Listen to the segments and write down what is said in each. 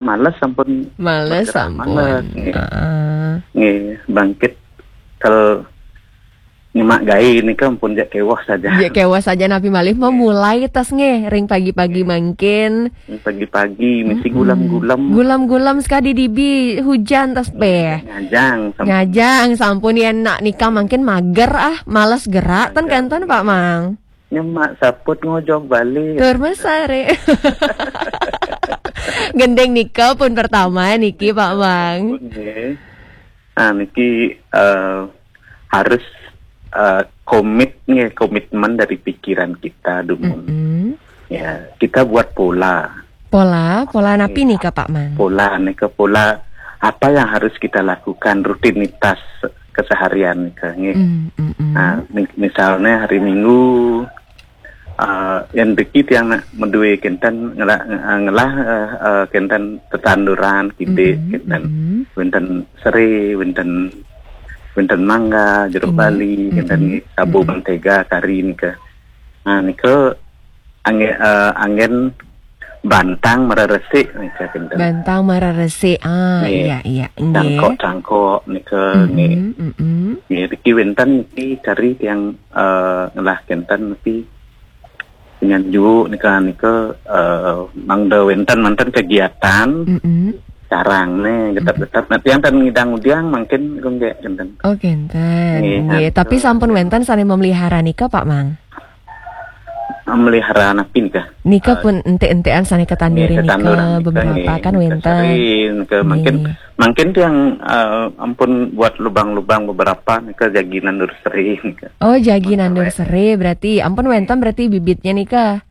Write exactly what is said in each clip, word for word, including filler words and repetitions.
Males sampun. Males Bergerak sampun. males, nggih. Heeh. Nggih, bangkit kel nyemak gaé nika ampun jak kéweh saja. Ya, kéweh saja napi malih memulai tas nggih ring pagi-pagi mangkin. Pagi-pagi mesti Mm-mm. gulam-gulam. Gulam-gulam sekadi dibi hujan tas beh. Ngajang sampun. Ngajang sampun ya nak nika mangkin mager ah, males gerak ten Mager. Kenten Pak Mang. Nyemak saput ngojog balik. Tur mesare. Gending nika pun pertama niki Pak Mang. Nggih. Nah, niki eh, harus eh, komit nggih, komitmen dari pikiran kita dumun. Mm-mm. Ya, kita buat pola. Pola, pola napi nika Pak Mang? Pola nika pola apa yang harus kita lakukan, rutinitas keseharian nika nggih. Mm, mm, mm. Nah, mi- misalnya hari Minggu eh, yang deki tiang nak medue kenten ngelah, eh, ngelah eh, eh, kenten tetanduran kidik Mm-mm, kenten mm-mm. Wenten sere, wenten wenten mangga, jeruk Ini, bali, kenten mm-mm, nggih, sabu mm-mm. mentega kari nika. Nah, nika angin eh, angin bantang mararesik nika kenten. Bantang mararesik. Ah, Nggih. Iya, iya. Nggih. Cangkok-cangkok nika nggih. Mm-mm, mm-mm. Nggih, niki wenten niki kari tiang eh, ngelah kenten niki penyanjuk nika nika eh, mangda wenten manten kegiatan Mm-mm. carang nih getap-getap. Nah, tiang tan ngidang udiang mangkin gonggek kenten. Oh, kenten. Nggih, Nggih, nah, tapi betul. Sampun wenten sane memelihara nika, Pak Mang? Memelihara napi nika? Nika pun ente-entean sane ketandurin Nggih, nika ketanduran nika, beberapa nggih, kan nika wenten. Sering ke mungkin Nggih. Mungkin tiang eh, ampun buat lubang-lubang beberapa nika jagi nandur seri nika. Oh, jagi nandur seri berarti. Ampun wenten berarti bibitnya nika.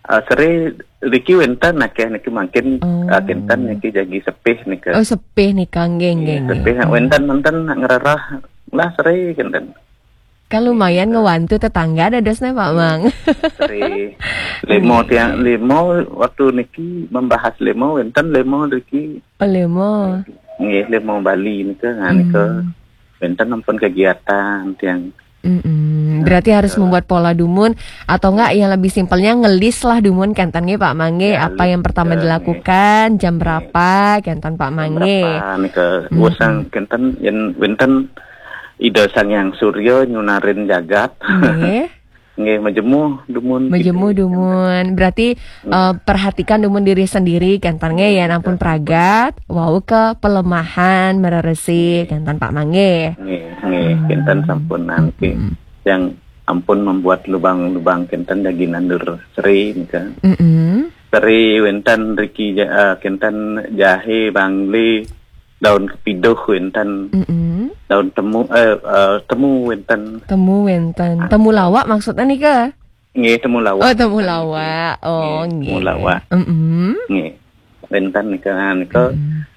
Eh, seri riki wenten akeh niki mungkin Oh. eh, kinten niki jagi sepih nika. Oh, sepih nika nggih nggih nggih. Sepih wenten manten ngererah lah seri kinten. Kan lumayan ngewantu tetangga dadosnya, Pak Mang. Seri lemo tiang lemo waktu niki membahas lemo wenten lemo riki Oh, lemo. Nggih, lemo Bali nika, nah, nika Hmm. wenten ampun kegiatan tiang. Mm-mm. Berarti harus membuat pola dumun atau enggak yang lebih simpelnya ngelis lah dumun kenten nggih Pak Mang nggih, Ya, apa yang pertama list, dilakukan, jam berapa kenten Pak Mang nggih. Berapa nika usang kenten yen wenten Ida Sang Hyang Surya nyunarin jagat. Nggih. Nggih, majemu dumun. Majemu dumun. Berarti eh, perhatikan dumun diri sendiri kenten nggih ya, ampun pragat, wau ke pelemahan, mereresi kenten Pak Mang nggih. Nggih, nggih, kinten sampun nangki. Yang ampun membuat lubang-lubang kinten jagi nandur seri nika. Mm-mm. Seri wenten riki ja- eh, kinten jahe, bangli, daun kepiduh wenten, Mm-mm. daun temu eh, eh, temu wenten. Temu wenten. Temu lawak maksudnya nika? Nggih, temu lawak. Oh, temu lawak. Oh, Nggih, temu nggih. Lawak. Mm-mm. Nggih. Wenten nika nika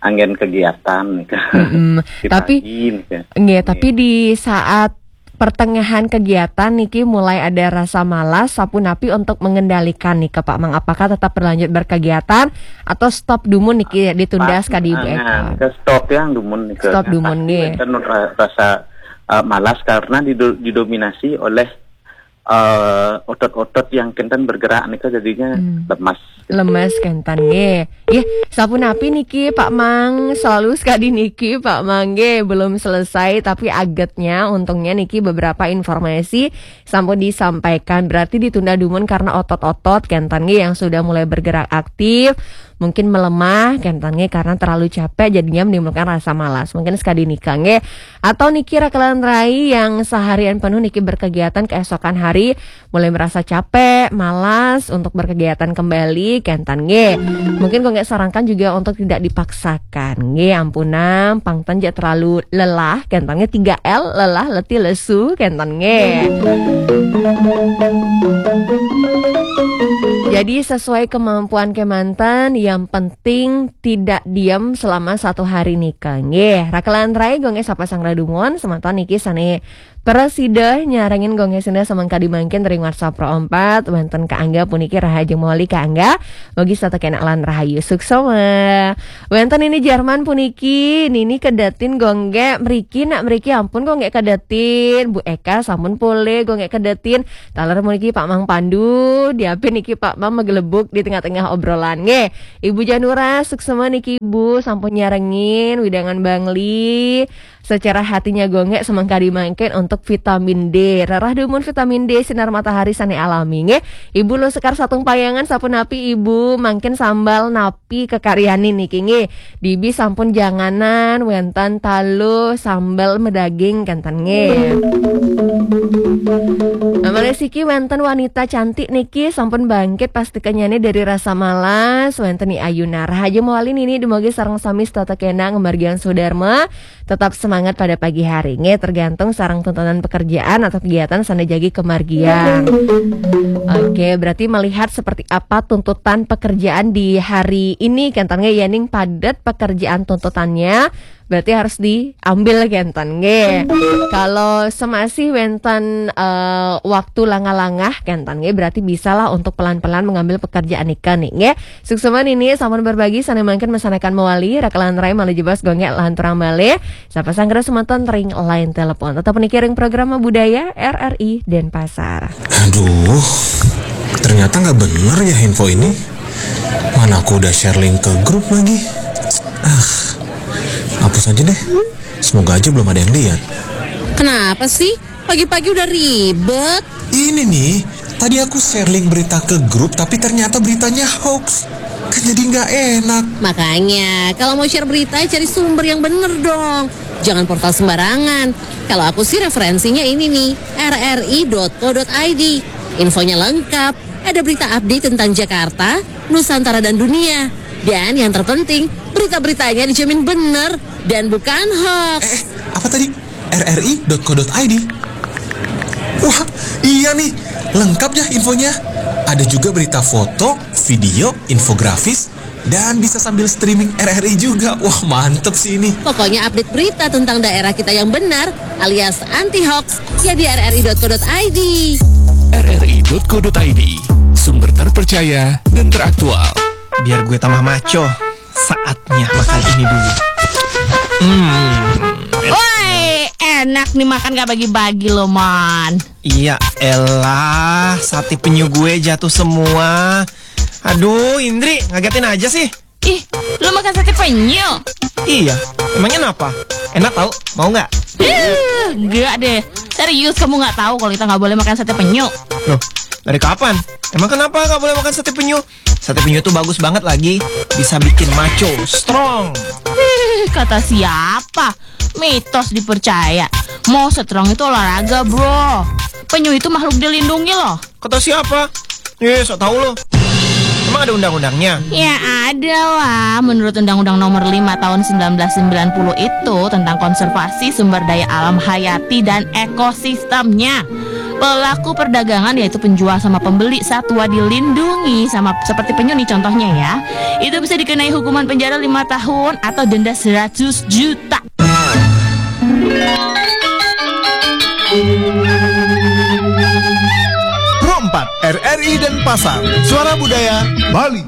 anggen kegiatan nika. Mm-mm. Di Tapi pagi nika. nggih, tapi di saat pertengahan kegiatan niki mulai ada rasa malas, sapunapi untuk mengendalikan nika Pak Mang? Apakah tetap berlanjut berkegiatan atau stop dumun niki ditunda sekadi Bu Eka? Ke stop yang dumun nika. Stop dumun Pasti nggih. Wenten ra- rasa eh, malas karena dido- didominasi oleh eh, otot-otot yang kenten bergerak nika jadinya lemas. Lemes kenten nggih. Nggih, sapunapi niki Pak Mang, selalu sekadi niki Pak Mang nggih, belum selesai tapi agetnya untungnya niki beberapa informasi sampun disampaikan. Berarti ditunda dumun karena otot-otot kenten nggih yang sudah mulai bergerak aktif, mungkin melemah kenten nggih karena terlalu capek jadinya menimbulkan rasa malas. Mungkin sekadi nika nggih. Atau niki rakelan rai yang seharian penuh niki berkegiatan keesokan hari mulai merasa capek, malas untuk berkegiatan kembali, kenten nggih. Mungkin kok nggak sarankan juga untuk tidak dipaksakan. Nggih, ampunam, pangten ja terlalu lelah, kenten nggih tiga L, lelah, letih, lesu, kenten nggih. Jadi sesuai kemampuan kemanten, yang penting tidak diam selama satu hari nika. Nggih, rakelan rai gonge sapa sang radumon, semanten niki sane prasida nyarengin gonge senda semengkadi mangkin ring WhatsApp Pro empat, wenten Ka Angga puniki rahajeng mawali Ka Angga. Mugi setata kenak lan rahayu suksma. Wenten ini Jerman puniki, nini kedatin gongge mriki nak mriki ampun gongge kedatin. Bu Eka sampun pole gongge kedatin. Taler puniki Pak Mang Pandu, diapin niki Pak Mang megelebuk di tengah-tengah obrolan. Nggih, Ibu Janura, suksema niki Ibu sampun nyarengin wewidangan Bangli. Secara hatinya gonggek semangkadi mangkin untuk vitamin D. Rerah dumun vitamin D sinar matahari sane alami nggih. Ibu Lusekar Satung Payangan, sapunapi Ibu, mangkin sambel napi kekaryanin niki nggih? Dibi sampun janganan wenten taluh sambel medaging kenten nggih. Nah, malih siki wenten wanita cantik niki sampun bangkit pastikannyane dari rasa malas, wenten Ni Ayuna. Rahayu mawali nini dumugi sareng sami setata kena ngamargiang swadarma. Tetap semangat pada pagi hari nggih, tergantung sareng tuntutan pekerjaan atau kegiatan sane jagi kamargiang. Oke, berarti melihat seperti apa tuntutan pekerjaan di hari ini kenten nggih, yening padet pekerjaan tuntutannya, berarti harus diambil kenten nggih. Kalau semasih wenten eh, waktu langah-langah kenten nggih, berarti bisalah untuk pelan-pelan mengambil pekerjaan nika nih nggih. Suksema nini sampun berbagi sane mangkin masanekan mawali, rakelan rai malih jebos gonggek lanturang malih. Sapa sanggra semeton ring line telepon. Tetap niki ring program Budaya R R I Denpasar. Aduh, ternyata nggak bener ya info ini. Mana aku udah share link ke grup lagi. Ah, hapus aja deh. Semoga aja belum ada yang lihat. Kenapa sih? Pagi-pagi udah ribet. Ini nih, tadi aku share link berita ke grup tapi ternyata beritanya hoax. Kan jadi nggak enak. Makanya, kalau mau share berita, cari sumber yang bener dong. Jangan portal sembarangan. Kalau aku sih referensinya ini nih, rri.co.id. Infonya lengkap, ada berita update tentang Jakarta, Nusantara dan dunia. Dan yang terpenting, berita-beritanya dijamin bener dan bukan hoax. Eh, apa tadi? rri.co.id. Wah, iya nih, lengkap ya infonya. Ada juga berita foto, video, infografis, dan bisa sambil streaming R R I juga. Wah, mantep sih ini. Pokoknya update berita tentang daerah kita yang benar alias anti hoax ya di rri.co.id. rri.co.id, sumber terpercaya dan teraktual. Biar gue tambah maco, saatnya makan ini dulu. Hmm, Woi, enak nih makan gak bagi-bagi loh, Man. Iya elah, sate penyu gue jatuh semua. Aduh, Indri, ngagetin aja sih. Ih, lu makan sate penyu? Iya, emangnya kenapa? Enak tau, mau nggak? Ih, enggak deh. Serius, kamu nggak tahu kalau kita nggak boleh makan sate penyu? Loh, dari kapan? Emang kenapa nggak boleh makan sate penyu? Sate penyu tuh bagus banget lagi, bisa bikin maco, strong. Ih, kata siapa? Mitos dipercaya. Mau strong itu olahraga, bro. Penyu itu makhluk dilindungi loh. Kata siapa? Eh, sok tahu lo. Emang ada undang-undangnya? Ya ada lah. Menurut Undang-Undang Nomor lima Tahun sembilan belas sembilan puluh itu tentang konservasi sumber daya alam hayati dan ekosistemnya. Pelaku perdagangan, yaitu penjual sama pembeli satwa dilindungi sama seperti penyu nih contohnya ya, itu bisa dikenai hukuman penjara lima tahun atau denda seratus juta. Pro empat, R R I Denpasar, Suara Budaya Bali.